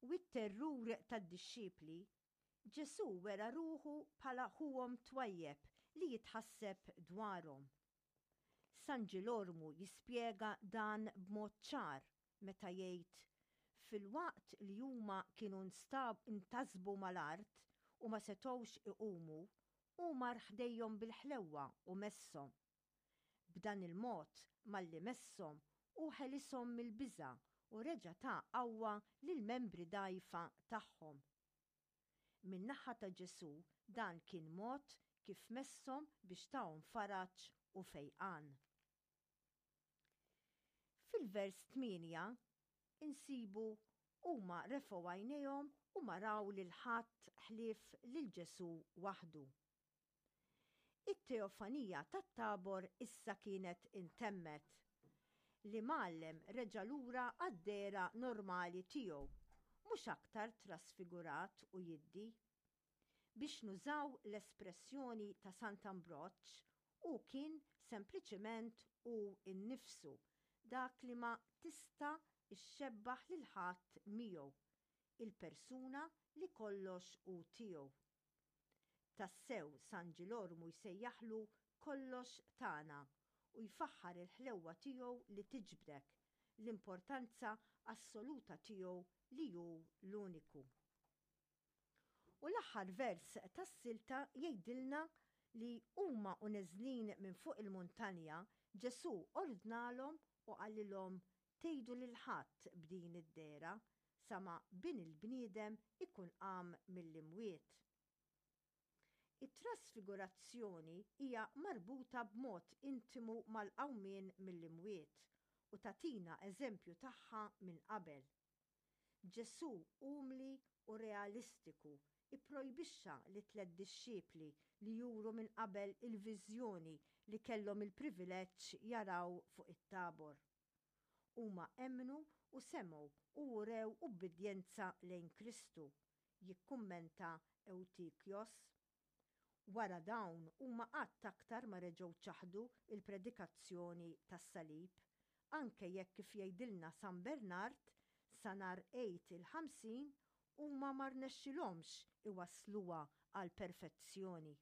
u t-terrur tad-dixxipli, Ġesù wera ruħu bħala ħuhom twajjeb li jitħasseb dwarhom. San Ġilormu jispjega dan b'mod ċar meta jgħid, Filwaqt li huma kienu ntasbu mal-art u ma setgħux iqumu, hu mar ħdejhom bil-ħlewwa u messhom. B'dan il-mod, malli messhom, hu ħelishom mill-biża' u reġa' ta qawwa lill-membri dgħajfa tagħhom. Min-naħa ta' Ġesù dan kien mod kif messhom biex tahom faraġ u fejqan. Fil-vers 8 insibu huma refgħu għajnejhom u ma raw lil ħadd ħlief lil Ġesù waħdu. It-teofanija tat-Tabor issa kienet intemmet. L-Imgħallem reġa' lura għad-dehra normali tiegħu, mhux aktar trasfigurat u jiddi. Biex nużaw l-espressjoni ta' Sant'Ambroġ, hu kien sempliċement hu nnifsu, dak li ma tista' xxebbaħ lil ħadd miegħu, il-persuna li kollox hu tiegħu. Tassew San Ġilormu jsejjaħlu kollox tagħna u jfaħħar il-ħlewwa tiegħu li tiġbdek, l-importanza assoluta tiegħu li hu l-uniku. U l-aħħar vers tas-silta jgħidilna li huma u neżlin minn fuq il-muntanja, Ġesù ordnalhom u qalilhom tgħidu lil ħadd b'din id-dehra, sa ma Bin il-bniedem ikun qam mill-imwiet. It-trasfigurazzjoni hija marbuta b'mod intimu mal-qawmien mill-imwiet u tagħtina eżempju tagħha minn qabel. Ġesù umli u realistiku ipprojbixxa lit-tlett dixxipli li juru minn qabel il-viżjoni li kellhom il-privileġġ jaraw fuq it-Tabor. Huma emmnu u semgħu u urew ubbidjenza lejn Kristu, jikkummenta Ewtikjos. Wara dawn huma qatt aktar ma reġgħu ċaħdu l-predikazzjoni tas-salib, anke jekk kif jgħidilna San Bernard, sa nhar Għid il-50 huma ma rnexxilhomx iwassluha għall-perfezzjoni.